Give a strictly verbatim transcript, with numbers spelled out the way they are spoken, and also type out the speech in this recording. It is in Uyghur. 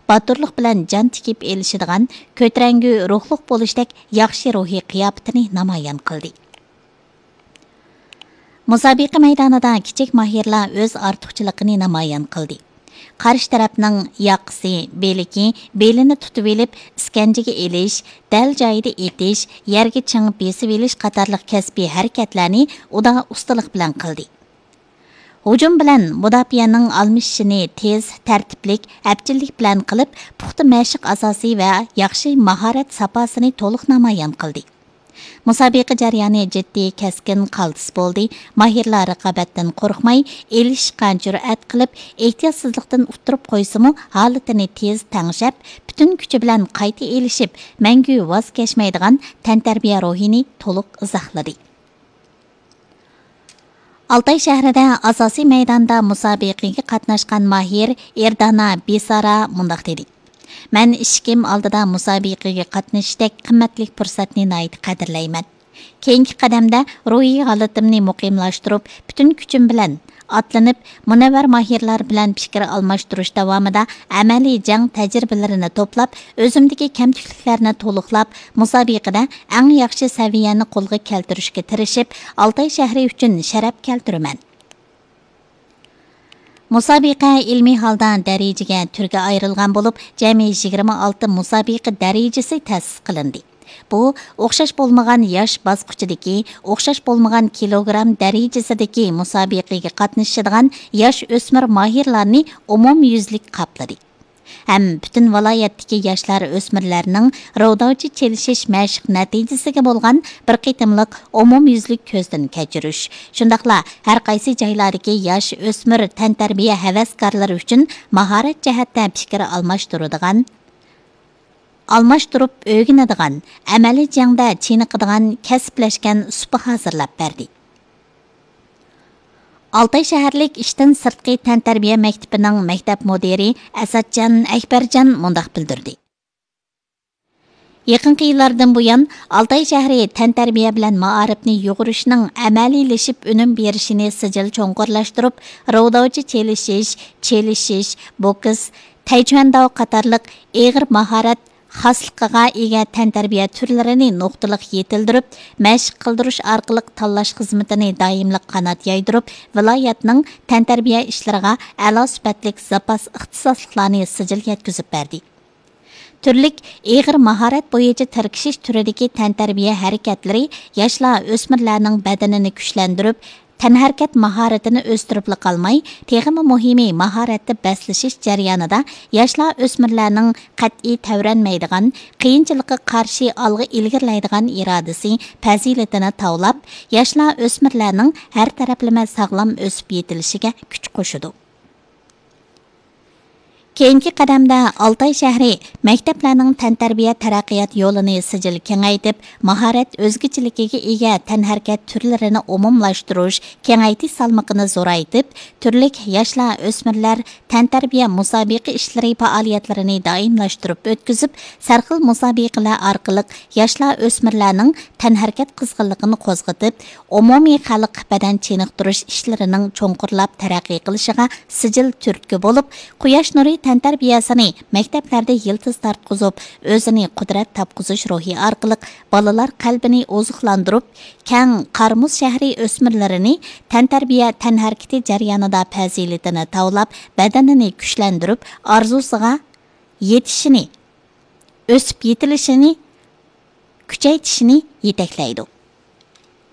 باتۇرلۇق بىلەن جان تىكىپ ئېلىشىدىغان، كۆتۈرەڭگۈ روھلۇق بولۇشتەك ياخشى روھىي قىياپىتىنى نامايان قىلدى. مۇسابىقە مەيدانىدا كىچىك ماھىرلار ئۆز ئارتۇقچىلىقىنى نامايان قىلدى. قارشى تەرەپنىڭ ياقىسى، بىلىكى، بېلىنى تۇتۇۋېلىپ، ئىسكەنجىگە ئېلىش، دەل جايىدا ئېتىش، يەرگە چىڭ بېسىۋېلىش قاتارلىق كەسپىي ھەرىكەتلەرنى ئۇدا ئۇستىلىق بىلەن قىلدى. ھۇجۇم بىلەن مۇداپىئەنىڭ ئالمىشىشىنى تېز، تەرتىپلىك، ئەپچىللىك بىلەن قىلىپ، پۇختا مەشىق ئاساسى ۋە ياخشى ماھارەت ساپاسىنى تولۇق نامايان قىلدى. مۇسابىقە جەريانى جىددىي، كەسكىن، قالتىس بولدى. ماھىرلار رىقابەتتىن قورقماي، ئېلىشىشقا جۈرئەت قىلىپ، ئېھتىياتسىزلىقتىن ئۇتتۇرۇپ قويسىمۇ، ھالىتىنى تېز تەڭشەپ، پۈتۈن كۈچى بىلەن قايتا ئېلىشىپ، مەڭگۈ ۋاز كەچمەيدىغان تەنتەربىيە روھىنى تولۇق ئىزاھلىدى. ئالتاي شەھىرىدە ئاساسىي مەيداندا مۇسابىقىگە قاتناشقان ماھىر ئېردانا بىسارا مۇنداق دېدى: مەن ئىشىكىم ئالدىدا مۇسابىقىگە قاتنىشىشتەك قىممەتلىك پۇرسەتنى ناھايىتى قەدىرلەيمەن. كېيىنكى قەدەمدە روھىي ھالىتىمنى مۇقىملاشتۇرۇپ، پۈتۈن كۈچۈم بىلەن ئاتلىنىپ، مۇنەۋۋەر ماھىرلار بىلەن پىكىر ئالماشتۇرۇش داۋامىدا ئەمەلىي جەڭ تەجرىبىلىرىنى توپلاپ، ئۆزۈمدىكى كەمتۈكلۈكلەرنى تولۇقلاپ، مۇسابىقىدە ئەڭ ياخشى سەۋىيەنى قولغا كەلتۈرۈشكە تىرىشىپ، ئالتاي شەھىرى ئۈچۈن شەرەپ كەلتۈرىمەن. مۇسابىقە ئىلمىي ھالدا دەرىجىگە، تۈرگە ئايرىلغان بولۇپ، جەمئىي يىگىرمە ئالتە مۇسابىقە دەرىجىسى تەسىس قىلىندى. بۇ ئوخشاش بولمىغان ياش باسقۇچىدىكى، ئوخشاش بولمىغان كىلوگرام دەرىجىسىدىكى مۇسابىقىگە قاتنىشىدىغان ياش ئۆسمۈر ماھىرلارنى ئومۇميۈزلۈك قاپلىدى. ھەم پۈتۈن ۋىلايەتتىكى ياشلار ئۆسمۈرلەرنىڭ روۋداۋچى چېلىشىش مەشىق نەتىجىسىگە بولغان بىر قېتىملىق ئومۇميۈزلۈك كۆزدىن كەچۈرۈش، شۇنداقلا ھەر قايسى جايلاردىكى ياش ئۆسمۈر تەنتەربىيە ھەۋەسكارلىرى ئۈچۈن ماھارەت جەھەتتە پىكىر ئالماشتۇرىدىغان، ئالماشتۇرۇپ ئۆگىنىدىغان، ئەمەلىي جەڭدە چېنىقىدىغان كەسىپلەشكەن سۇپا ھازىرلاپ بەردى. ئالتاي شەھەرلىك ئىشتىن سىرتقى تەنتەربىيە مەكتىپىنىڭ مەكتەپ مۇدىرى ئەسەتجان ئەكبەرجان مۇنداق بىلدۈردى: يېقىنقى يىللاردىن بۇيان، ئالتاي شەھىرى تەنتەربىيە بىلەن مائارىپنى يۇغۇرۇشنىڭ ئەمەلىيلىشىپ ئۈنۈم بېرىشىنى سىجىل چوڭقۇرلاشتۇرۇپ، روۋداۋچى چېلىشىش، چېلىشىش، بوكس، تەيچۈەنداۋ قاتارلىق ئېغىر ماھارەت خاسلىقىغا ئىگە تەنتەربىيە تۈرلىرىنى نۇقتىلىق يېتىلدۈرۈپ، مەشىق قىلدۇرۇش ئارقىلىق تاللاش خىزمىتىنى دائىملىق قانات يايدۇرۇپ، ۋىلايەتنىڭ تەنتەربىيە ئىشلىرىغا ئەلا سۈپەتلىك زاپاس ئىختىساسلىقلارنى سىجىل يەتكۈزۈپ بەردى. تۈرلۈك ئېغىر ماھارەت بويىچە تىركىشىش تۈرىدىكى تەنتەربىيە ھەرىكەتلىرى ياشلار، ئۆسمۈرلەرنىڭ بەدىنىنى كۈچلەندۈرۈپ، تەنھەرىكەت ماھارىتىنى ئۆستۈرۈپلا قالماي، تېخىمۇ مۇھىمى، ماھارەتتە بەسلىشىش جەريانىدا ياشلار، ئۆسمۈرلەرنىڭ قەتئىي تەۋرەنمەيدىغان، قىيىنچىلىققا قارشى ئالغا ئىلگىرىلەيدىغان ئىرادىسى، پەزىلىتىنى تاۋلاپ، ياشلار، ئۆسمۈرلەرنىڭ ھەر تەرەپلىمە ساغلام ئۆسۈپ يېتىلىشىگە كۈچ قوشىدۇ. كېيىنكى قەدەمدە ئالتاي شەھىرى مەكتەپلەرنىڭ تەنتەربىيە تەرەققىيات يولىنى سىجىل كېڭەيتىپ، ماھارەت ئۆزگىچىلىكىگە ئىگە تەنھەرىكەت تۈرلىرىنى ئومۇملاشتۇرۇش، كېڭەيتىش سالمىقىنى زورايتىپ، تۈرلۈك ياشلار، ئۆسمۈرلەر تەنتەربىيە مۇسابىقە ئىشلىرى پائالىيەتلىرىنى دائىملاشتۇرۇپ ئۆتكۈزۈپ، سەرخىل مۇسابىقىلەر ئارقىلىق ياشلار، ئۆسمۈرلەرنىڭ تەنھەرىكەت قىزغىنلىقىنى قوزغىتىپ، ئومۇمىي خەلق بەدەن چېنىقتۇرۇش ئىشلىرىنىڭ چوڭقۇرلاپ تەرەققىي قىلىشىغا سىجىل تۈرتكە بولۇپ، قۇياش نۇرى تەنتەربىيەسىنى مەكتەپلەردە يىلتىز تارتقۇزۇپ، ئۆزىنى قۇدرەت تاپقۇزۇش روھى ئارقىلىق بالىلار قەلبىنى ئوزۇقلاندۇرۇپ، كەڭ قارىمۇز شەھىرى ئۆسمۈرلىرىنى تەنتەربىيە تەنھەرىكىتى جەريانىدا پەزىلىتىنى تاۋلاپ، بەدىنىنى كۈچلەندۈرۈپ، ئارزۇسىغا يېتىشىنى، ئۆسۈپ يېتىلىشىنى كۈچەيتىشىنى يېتەكلەيدۇ.